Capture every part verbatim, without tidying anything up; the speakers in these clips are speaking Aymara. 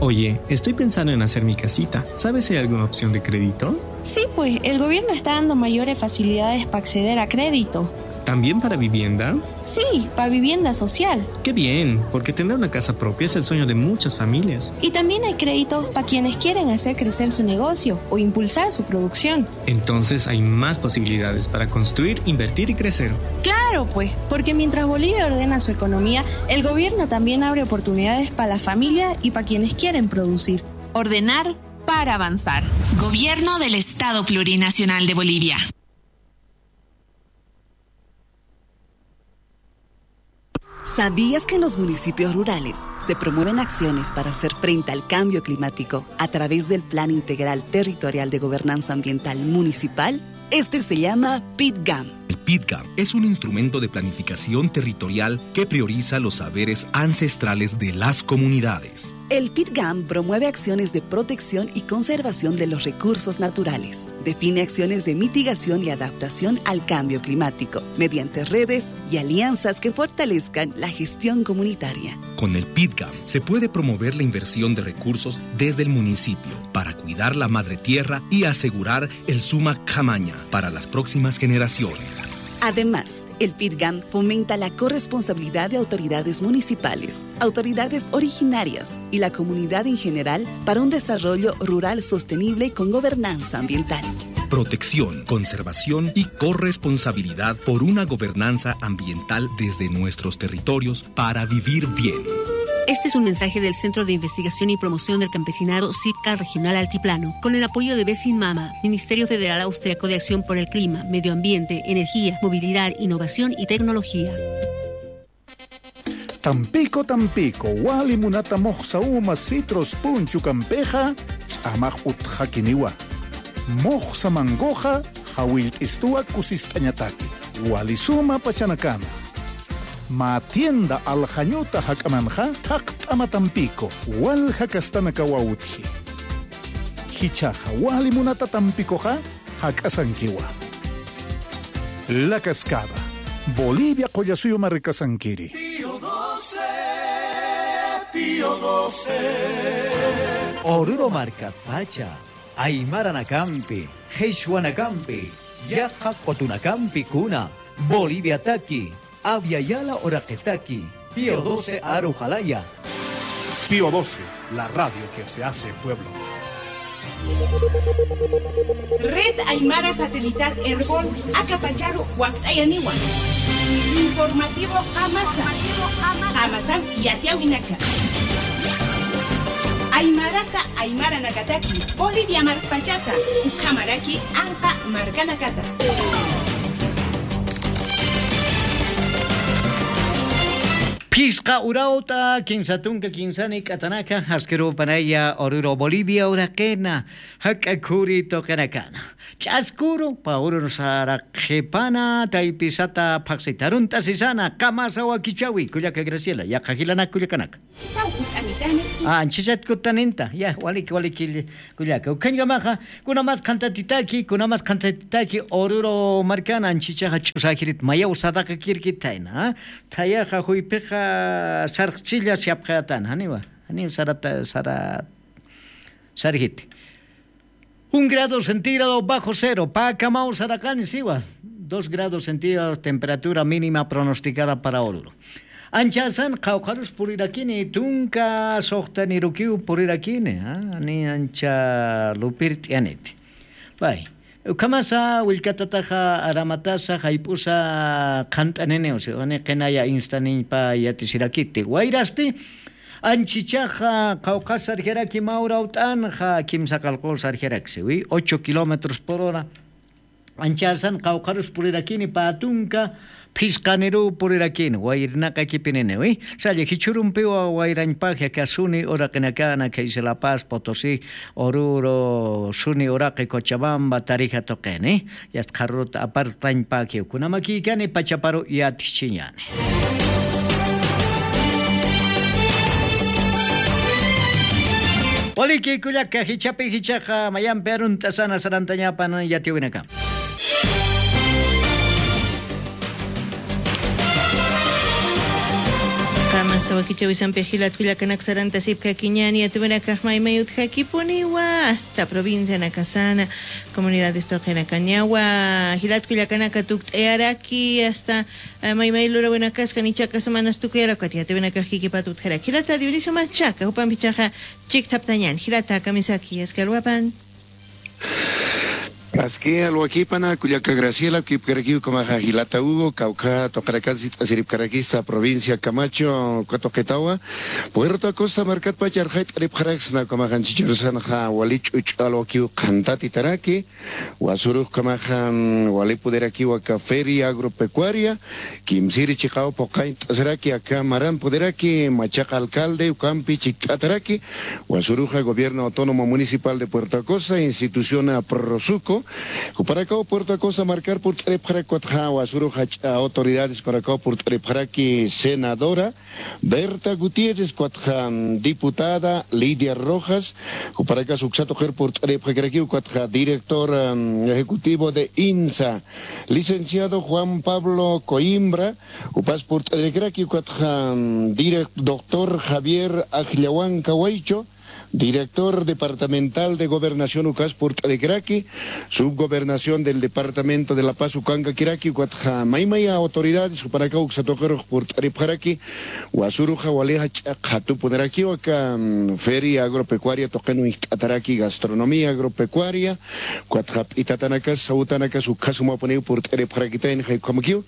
Oye, estoy pensando en hacer mi casita. ¿Sabes si hay alguna opción de crédito? Sí, pues, el gobierno está dando mayores facilidades pa acceder a crédito. ¿También para vivienda? Sí, pa vivienda social. Qué bien, porque tener una casa propia es el sueño de muchas familias. Y también hay créditos pa quienes quieren hacer crecer su negocio o impulsar su producción. Entonces hay más posibilidades para construir, invertir y crecer. Claro, pues, porque mientras Bolivia ordena su economía, el gobierno también abre oportunidades pa la familia y pa quienes quieren producir. Ordenar para avanzar. Gobierno del Estado Plurinacional de Bolivia. ¿Sabías que en los municipios rurales se promueven acciones para hacer frente al cambio climático a través del Plan Integral Territorial de Gobernanza Ambiental Municipal? Este se llama PITGAM. El PITGAM es un instrumento de planificación territorial que prioriza los saberes ancestrales de las comunidades. El PITGAM promueve acciones de protección y conservación de los recursos naturales. Define acciones de mitigación y adaptación al cambio climático mediante redes y alianzas que fortalezcan la gestión comunitaria. Con el PITGAM se puede promover la inversión de recursos desde el municipio para cuidar la madre tierra y asegurar el suma khamaña para las próximas generaciones. Además, el PITGAM fomenta la corresponsabilidad de autoridades municipales, autoridades originarias y la comunidad en general para un desarrollo rural sostenible con gobernanza ambiental. Protección, conservación y corresponsabilidad por una gobernanza ambiental desde nuestros territorios para vivir bien. Este es un mensaje del Centro de Investigación y Promoción del Campesinado CIPCA Regional Altiplano, con el apoyo de Besin Mama, Ministerio Federal Austriaco de Acción por el Clima, Medio Ambiente, Energía, Movilidad, Innovación y Tecnología. Tampico, Tampico, wali munata muxsa uma citrus punchukampixa ch'amax utxakiniwa. Muxsa mangoxa jawillt'istuwa kusist'añataki. Wali suma pachanakana. Mä tienda Aljañuta jak'amanxa thaqt'ama Tampico, walja kastanakawa utji. Jichhaxa wali munata Tampicoxa jak'asankiwa. La Cascada, Bolivia qullasuyu markasankiri. Pío doce, Pío doce. Oruro markatpacha, aymaranakampi, qhichwanakampi, yaqha qutunakampi kuna, Boliviataki, Abya Yala uraqitaki, Pío doce aru jalaya. Pío doce, la radio que se hace pueblo. Red Aymara Satelital Erbol, aka pacharu wakt'ayaniwa. Informativo Qamasa. Qamasan yatiyäwinaka. Aymarata aymaranakataki, Bolivia markpachata, ukhamaraki anqa markanakata. Phisqa urawt'a, kinsa tunka kinsani k'atanaka, askirupanaya Oruro Bolivia uraqina, jak'a khuri tuqinakana. Ch'askuru, pä urun sara qhipana, taypisata phaxsita, arunt'asisana, Qamasa wakichäwi, kullaka Graciela, yaqha jilanaka kullakanaka. Anchhichat kutanintani. Ah, anchhichat kutaninta. Ya, waliki, waliki, kullaka. Ukhañkamaxa, kunamas qhantatitaki, kunamas qhantatitaki, Oruro markana, anchhichaxa ch'usajirit, mayaw sadaqakirkit thayna, ah. Thayaxa juyphixa sarxchilla siapxayatana, janiwa, janiw sarata, sara, sarjiti. Un grado centígrado bajo cero, pä kamaw saraqani siwa. Dos grados centígrados temperatura mínima pronosticada para Oruro. Anchhasan qawqharus purirakini, tunka suxtanirukiw purirakini, ah, ni ancha lupirt'yaniti. Pay, ukhamasa willkatataxa aramatasa jayp'usa qhant'aniniw, si, ni qinaya instaniñpa yatisirakiti. Wayrasti, anchhichaxa qawqhas sarjaraki, mä urawt'anxa kimsa qallqu sarjaraksi, wi, ocho kilómetros por hora. Anchhasan qawqharus purirakini, pä tunka phisqaniruw purirakini, wayrnaqakipininiw, wi. Salla jichhürumpiwa wayrañpax aka suni uraqinakana, khaysa La Paz, Potosí, Oruro, suni uraqi Cochabamba, Tarija tuqini. Yast qharüruta apartañpakiw. Kunamakïkani pachaparu yatjichiñani. Waliki kullaka, jichhapi jichhaxa mayampi arunt'asana sarantañapan yatiyäwinaka. Qamasa Sawakichawisampi jilat kullakanaka sarantasipkakiñäni, yatipinakax maymay utjakipuniwa, hasta provincianakasana, comunidades tuqinakañawa, jilat kullakanaka tukt'ayaraki, hasta, eh, maymay lurawinakaskani chakasamanastukuyarakati, yatipinakax kikipat utjaraki. Jilata Dionisio Machaca, jupampichaxa chikthaptañäni, jilata kamisaki, aski alwapan. Aski alwakipana, kullaka Graciela, kipkarakiw kamaxa jilata Hugo, kawkha tuqirakan sit'asiripkarakista provincia Camacho, uka tuqitawa, Puerto Acosta markatpach arxayt'aripxaraksna, kamaxan chicharusanxa wali ch'uch'u alwakiw qhantatitaraki, wasurux kamaxa, mm, wali puderakiw aka feria agropecuaria, kimsiri chiqaw phuqañt'asiraki, aka maran puderaki, Machaca alcalde, ukampi chikt'ataraki, wasuruxa Gobierno Autónomo Municipal de Puerto Acosta, institución, ah, Prosuco, jupanakaw Puerto Acosta markar purt'aripxarak, ukatxa wasuruxa jach'a autoridades jupanakaw purt'aripxaraki, senadora Berta Gutiérrez, ukatxa, mm, diputada Lidia Rojas, jupanakas uksa tuqir purt'aripxakirakiw, ukatxa director, mm, ejecutivo de INSA, licenciado Juan Pablo Coimbra, jupas purt'arikiraki, ukatxa, mm, direc-, doctor Javier Ajllawanka Waycho, director departamental de Gobernación, ukas purt'arikiraki, subgobernación del departamento de La Paz ukankakiraki, ukatxa maymay autoridades, jupanakaw uksa tuqirux purt'aripxaraki, wasuruxa wali jach'a qhatupunirakiw aka, mm, feria agropecuaria tuqin uñjt'ataraki, gastronomía agropecuaria, ukatxa p'itatanakas, sawtanakas, ukhasumapuniw purt'aripxarakitayna, jay ukhamakiw,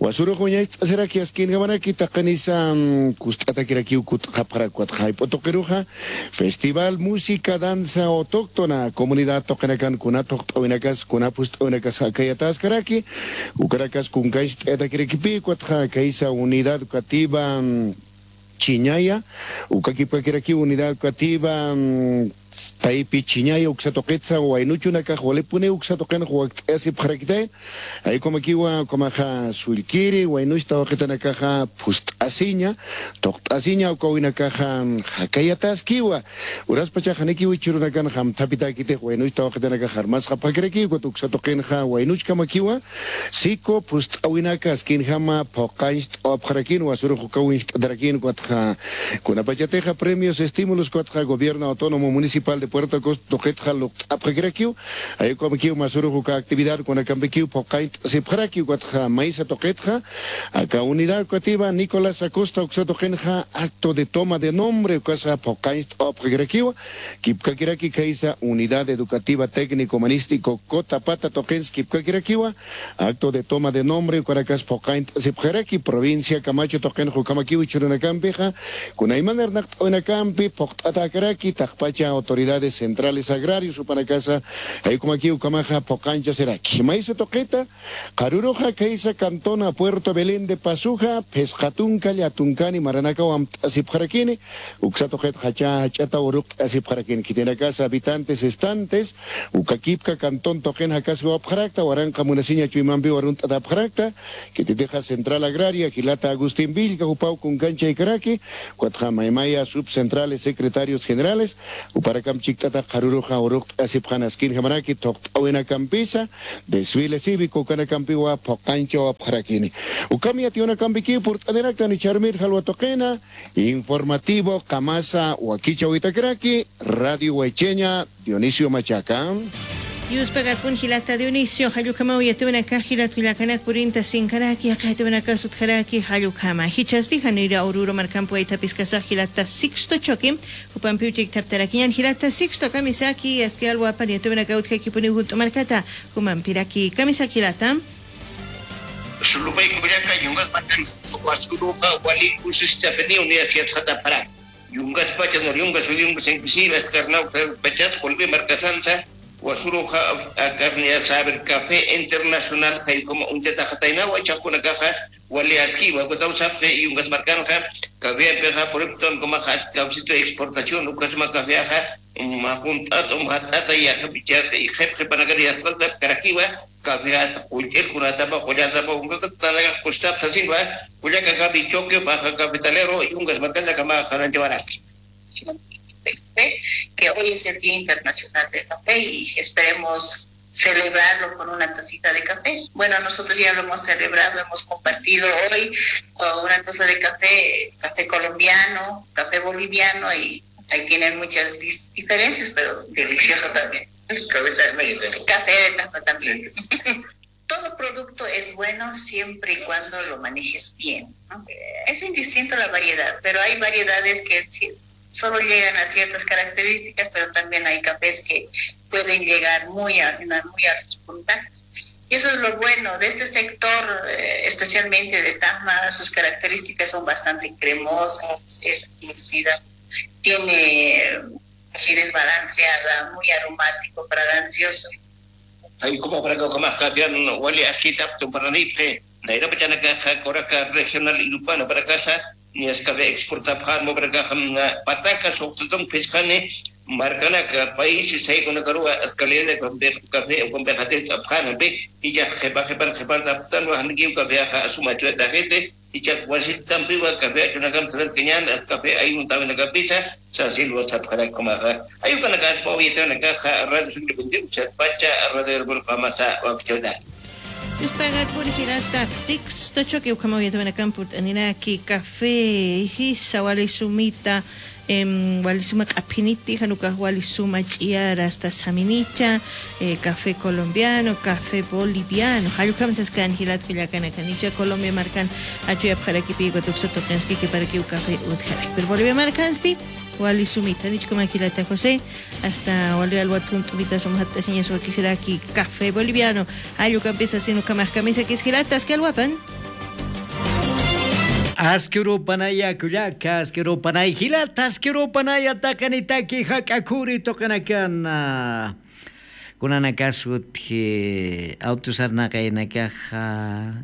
wasurux uñacht'asiraki askinjamaraki taqinisa, mm, kust'atakirakiw kut'xapxarak, ukatxa jayp'u tuqiruxa, festival música, danza autóctona, comunidad tuqinakan kuna thuqt'awinakas, kuna phust'awinakas jakayataskaraki, ukanakas kunkancht'ayatakirakipï, ukatxa kaysa unidad educativa, mm, Chiñaya, uka kipkakirakiw unidad educativa, mm, Taypi Chiñaya uksa tuqitsa, waynuchunakax walipuniw uksa tuqinx wakt'ayasipxarakitay, jay ukhamakiwa, ukhamaxa sullkiri, waynuch tawaqitanakaxa phust'asiña, thuqt'asiña, ukawinakaxa jakayataskiwa. Uraspachax janikiw jichhürunakan jamthapitäkitix waynuch tawaqitanakax armasxapxakirakiw, ukat uksa tuqinxa waynuchkamakiwa, siku phust'awinaka askinjama phuqañcht'awapxarakini, wasurux ukaw uñjt'atarakini, ukatxa kunapachatixa premios, estímulos, ukatxa Gobierno Autónomo Municipal de Puerto Acosta tuqitxa luqt'apxakirakiw, jay ukhamakiw wasurux uka actividad kunakampikiw phuqañcht'asipxaraki, ukatxa maysa tuqitxa, aka unidad educativa Nicolás Acosta uksa tuqinxa acto de toma de nombre, ukasa phuqañcht'awapxakirakiwa, kipkakiraki kaysa unidad educativa técnico humanístico Cotapata tuqins kipkakirakiwa, acto de toma de nombre, ukanakas phuqañcht'asipxaraki, provincia Camacho tuqinx ukhamakiw jichhürunakampixa, kunayman arnaqt'awinakampi phuqt'atäkaraki, taqpacha autoridades centrales agrarios, jupanakasa, jay ukhamakiw ukhamaxa phuqañchasiraki. Maysa tuqita, qharüruxa kaysa cantona Puerto Belén de Pasoxa, phisqa tunka, lla tunkani maranakaw amt'asipxarakini, uksa tuqit jach'a, jach'ataw uruqt'asipxarakini, khitinakasa habitantes, estantes, uka kipka cantón tuqin jakaskawapxarakta, waranqa munasiña chuymampiw arunt'atapxarakta, khititixa Central Agraria, jilata Agustín Villca, jupaw kunkanchaykaraki, ukatxa maymaya subcentrales, secretarios generales, jupanakamp chikt'atax qharüruxa uruqt'asipxani askinjamaraki, thuqt'awinakampisa, desfile cívico ukanakampiwa phuqañchawapxarakini. Ukham yatiyunakampikiw purt'aniraktan, jichhürmir jalwa tuqina, informativo, qamasa wakichäwitakiraki, Radio Huaychaña, Dionisio Machaca. Yuspagakun jilata Dionisio, jall ukhamaw yatiyunakax jilat kullakanak purintasinkaraki, yaqha yatiyunakax utjaraki, jall ukhama. Jichhasti janira Oruro markampi waythapiskasax jilata Sixto Choque, jupampiw chikthaptarakiñäni, jilata Sixto kamisaki, aski alwapar yatiyunakaw utjakipuniw jut'u markata, jumampiraki kamisaki jilata. Sulupay kullaka, yungas markan, wasuruxa wali kusistapiniw universidad jatapxarak. Yungas pachas, nur yungas, ul yungas, inklusive hasta Karnawsa pachas, Colombia markasansa, wasuruxa, akarniya saber café internacional, jay ukhama uñt'ataxataynawa, jichhax kunakaxa wali askiwa, ukataw sapxi, yungas markanxa, caféampixa, por ejemplo, ukhamaxa, cafecito exportación, ukhasma caféaxa, um, junt'at, um, jat'ata, yaqhip, yaqhip, qhipanakat yatxaltapkarakiwa, café hasta qullq'ir kunatapa, qullatapa, ukatanakax kustap sasinwa, kullaka café Choque, baja cafetalero, yungas markansa kama, qananchawaraki. Que hoy es el Día Internacional del Café y esperemos celebrarlo con una tacita de café. Bueno, nosotros ya lo hemos celebrado, hemos compartido hoy con una taza de café, café colombiano, café boliviano, y ahí tienen muchas dis- diferencias, pero delicioso también. Café de Tacna también. Todo producto es bueno siempre y cuando lo manejes bien, ¿no? Es indistinto la variedad, pero hay variedades que solo llegan a ciertas características, pero también hay cafés que pueden llegar muy a, muy altos puntajes. Y eso es lo bueno de este sector, eh, especialmente de Tacna, sus características son bastante cremosas, es ácida, tiene acidez balanceada, muy aromático, fragancioso. Ay, como para que comas cambiar, wali askitap tumparanipe. Nayrapachanakaxa Coraca Regional Irupana para casa, ni askabe exportapxan, para caja, pataka, soxtutun, piscani, marcanaka, países, saykunakaruwa, ascalidad de café, o con vejatil, apxanapi, y ya, jepa, jepa, jepa, tapxtan, wa, hankiw, café, aja, asuma, chueta, gente, ichak wasitampiwa café achunakam saratkañan, café ayuntawinakapisa sasilwa sapxarakkumaxa. Ayukanakaspa uyatawanakaxa radio sugripunti, usatpacha radio herbolqamasa wakchawta. Yuspagat purjirata Sixto Choque ukhama uyatawanakam purt'aninaki café jisa wali sumita. Em, wali suma q'aphiniti, janukax wali suma ch'iyara, hasta saminicha, eh, café colombiano, café boliviano. Jallukhamsas kan jilat kullakanakanicha Colombia markan achuyapxarakipi, igual tuksa tuqinskiki para que café utjarak. Pero Bolivia markansti wali sumita, nichkuma jilata José, hasta wali alwat junt'umita suma jat'asiñas wakisiraki café boliviano. Jallukampisa sino kamax kamisa kis jilata, aski alwapan. Askirupanaya kullaka, askirupanay jilata, askirupanaya taqinitaki jak'akhuri tuqinakana. Kunanakasutji awtusarnaqaynakaxa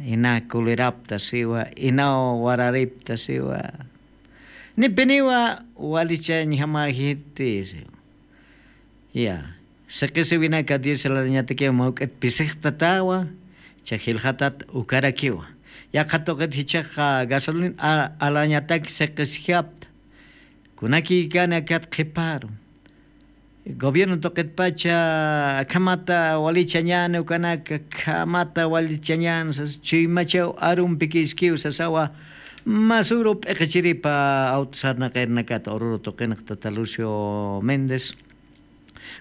ina kulirapta siwa, ina wararipta siwa. Nipiniwa walichañjamajiti siwa. Ya. Siqisiwinaka diésel alañatakiw mawk'it pisixtatawa, cha jilxatat ukarakiwa. Yaqha tuqit jichhaqa gasolina a-, alañatak siqisijapta. Kunakïkani akat qhiparu. Gobierno tuqitpacha akhamata walichañäni ukanaka, akhamata walichañäni sas, chuymachaw arumpi kiskiw sasawa, masuru p'iqichiripa awtusarnaqayrnakata Oruro tuqinx tata Lucio Méndez.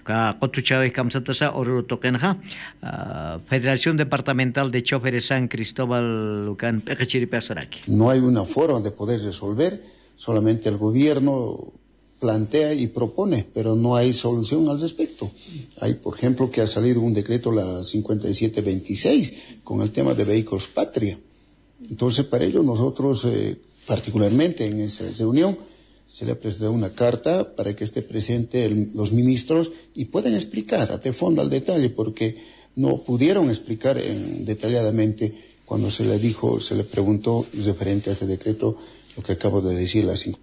Ka qutuchäwix kamsatasa Oruro tuqinxa, ah, Federación Departamental de Choferes San Cristóbal ukan p'iqichiripasaraki. No hay una forma de poder resolver, solamente el gobierno plantea y propone, pero no hay solución al respecto. Hay, por ejemplo, que ha salido un decreto, la cincuenta y siete veintiséis, con el tema de vehículos patria. Entonces, para ello nosotros, eh, particularmente en esa reunión, se le ha presentado una carta para que esté presente el, los ministros y puedan explicar a fondo, al detalle, porque no pudieron explicar en, detalladamente cuando se le dijo, se le preguntó referente a este decreto, lo que acabo de decir, las cinco.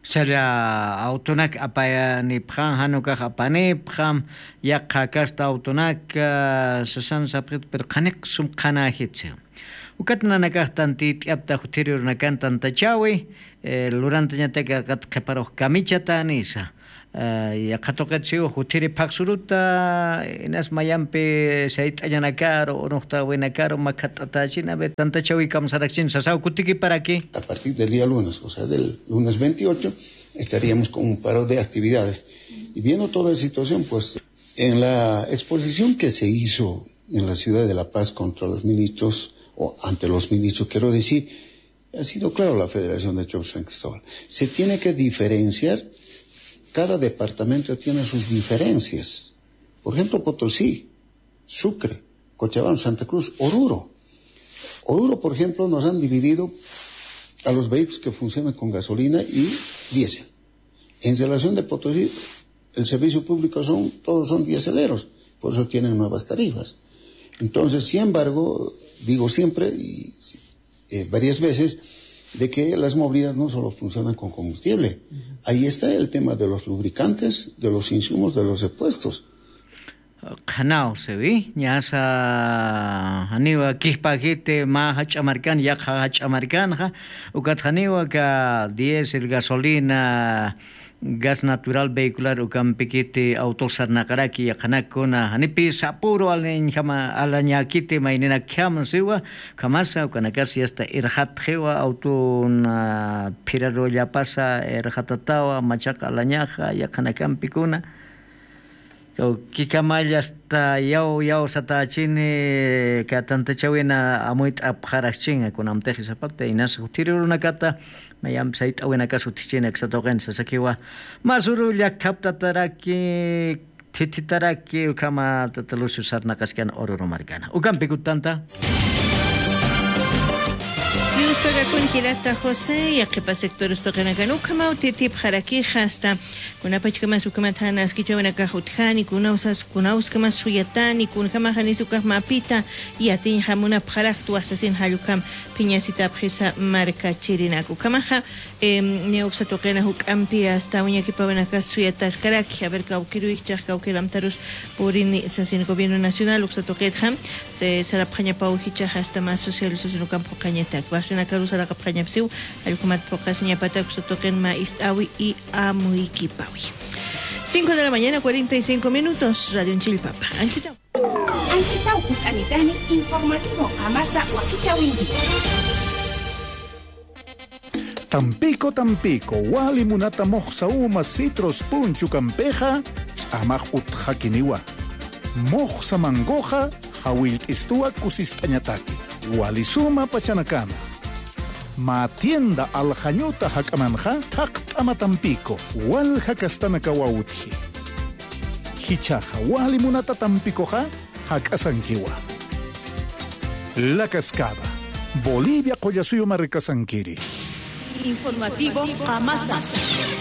Salla awtunak apayanipxam, janukax apanipxam, yaqha kasta awtunak, ah, sasan sapxit, pero qhaniq sum qhanäjitsi. Ukat nanakax tantit'yapta juthiri urnakan tantachäwi, eh, lurantañatak aqat qhiparux kamichatanisa. Eh, yaqha tuqit siw juthiri phaxsuruta, inas mayampi sayt'añanakaru, unuxtawinakaru, makhat'atächina, a ver, tantachäwi kamsarakchini, sasaw kutikiparaki. A partir del día lunes, o sea, del lunes veintiocho, estaríamos con un paro de actividades. Y viendo toda la situación, pues, en la exposición que se hizo en la ciudad de La Paz contra los ministros, o ante los ministros, quiero decir, ha sido claro la Federación de Choferes San Cristóbal. Se tiene que diferenciar, cada departamento tiene sus diferencias. Por ejemplo, Potosí, Sucre, Cochabamba, Santa Cruz, Oruro. Oruro, por ejemplo, nos han dividido a los vehículos que funcionan con gasolina y diésel. En relación de Potosí, el servicio público son, todos son diéseleros, por eso tienen nuevas tarifas. Entonces, sin embargo, digo siempre, y, eh, varias veces, de que las movilidades no solo funcionan con combustible. Ahí está el tema de los lubricantes, de los insumos, de los repuestos. Qhanaw siwi, ñasa janiwa kijpäjiti mä jach'a markan, yaqha jach'a markanxa, ukat janiwa aka diésel, gasolina, gas natural vehicular ukampikiti awtux sarnaqaraki yaqhanakuna janipi sapuru alañjama alañäkiti mayninakjama siwa. Ukhamasa ukanakasi asta irxatxiwa awtuna phirarullapasa irxatatawa machaqa alañaxa yaqhanakampikuna. Kawkikamalla asta yaw yaw satächini katantachawina amuyt'apxarakchinga kunamtixi sapata inasa jutiri urunakata. Mayampi sayt'awinakas utjichini aksatuqin sasakiwa. Masuru llakthaptataraki thithitaraki ukhama tata lucio sarnaqaskana ururu markana ukampikutanta. Yuspakakunkirata josé yaqhipa sectores tuqinakan ukhamaw thithipxarakixa asta kunapachkamas ukhamat jana askichawinakax utjani kunawsas kunawskamas suyatani kunjamaxa nisukax mapita yatiñjamunapxaraktu wasasin jallukam phiñasitapxisa markachirinak ukhamaxa. Niwksa tuqina juk'ampi asta wiñakipawinakas suyataskaraki aver kawkiruykichax kawkiramtarus purini sasin gobierno nacional uksa tuqitxa sarapxañapaw jichax asta mas socialisación ukamp juqañatak varsinakarus saraqapxañapsiw. Allkumat phuqasiñapatak uksa tuqin ma ist'awi y amuykipawi. Cinco de la mañana cuarenta y cinco minutos radio nchillpapa anchitaw. Anchitaw kut'anitani informativo qamasa wakichawinki. Tampico tampico wali munata muxsa uma citrus punchukampixa ch'amax utxakiniwa. Muxsa mangoxa jawillt'istuwa kusist'añataki wali suma pachanakana. Mä tienda aljañuta jak'amanxa thaqt'ama tampico walja kastanakawa utji. Jichhaxa wali munata tampikoxa jak'asankiwa. La cascada bolivia qullasuyu markasankiri. Informativo qamasa.